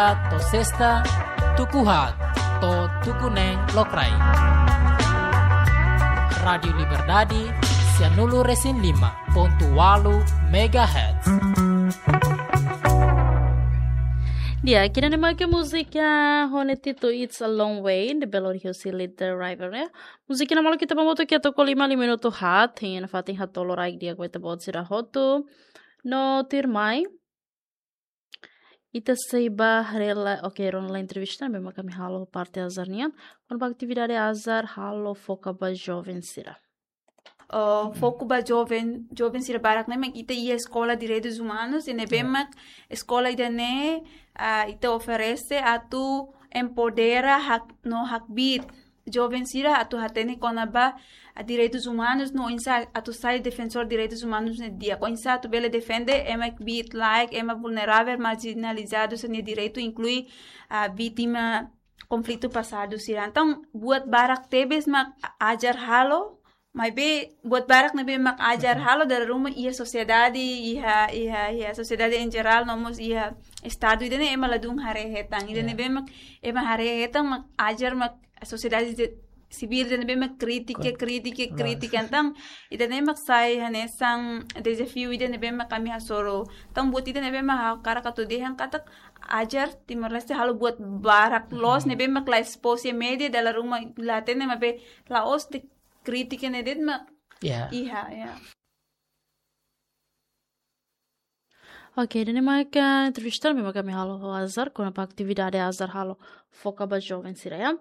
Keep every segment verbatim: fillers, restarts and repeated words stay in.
To'o sesta, tuku haat to'o tuku neen lokraik. Rádiu Liberdade, sianulu-resin-lima pontu ualu megahertz. Di'ak, ida-ne'e mak múzika ho nia títulu It's a Long Way, ne'ebé lori husi Little River, ya. Múzika ne'e maluk ita-boot hotu ke to'o lima, lima minutu haat, hein, nafatin haat tolu rai dia ko ita-boot sira hotu. No tuirmai, ita sei bá haree lai, oke, rona lai entrevista ne'ebé mak ami halo parte azar nian, kona-ba atividade azar halo foka ba joven sira. Oh, foku ba joven, joven sira barak ne'e mak ita iha Eskola Direitus Umanus, ne'ebé mak eskola ida-ne'e, ah, ita oferese atu empodera hak, no hakbiit joven sira atu hatene kona-ba, ah, direitus umanus, no oinsá atu sai defensór direitus umanus ne'e di'ak, oinsá atu bele defende ema kbiit-laek, ema vulneravel, marjinalizadu sira-nia direitu, inklui, ah, vítima konflitu pasadu sira. Entaun, buat barak tebes mak Ajar halo, maibé buat barak ne'ebé mak Ajar halo dala ruma iha sosiedade, iha, iha, iha sosiedade em geral, no mós iha estadu ida-ne'e ema ladún haree hetan. Ida ne'ebé mak ema haree hetan mak Ajar mak sosiedade de, sivíl ida ne'ebé mak kritika, kritika, kritika. Entaun, ida-ne'e mak sai hanesan dezafiu ida ne'ebé mak ami hasoru. Entaun, buat ida ne'ebé mak ha'u hakarak atu dehan katak Ajar Timor-Leste halo buat barak loos ne'ebé mak la espós iha média, dala ruma la hatene, maibé la'ós de'it kritika ne'e de'it mak iha, ya. Oke, ida-ne'e mak entrevista ne'ebé mak ami halo ho Ajar, kona-ba atividade Ajar halo foka ba joven sira, ya.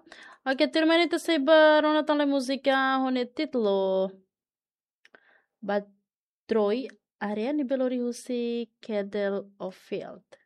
Oke, tuirmai ita sei bá rona tan lai múzika ho nia títulu Batroi Area, ne'ebé lori husi Kedel Ofield.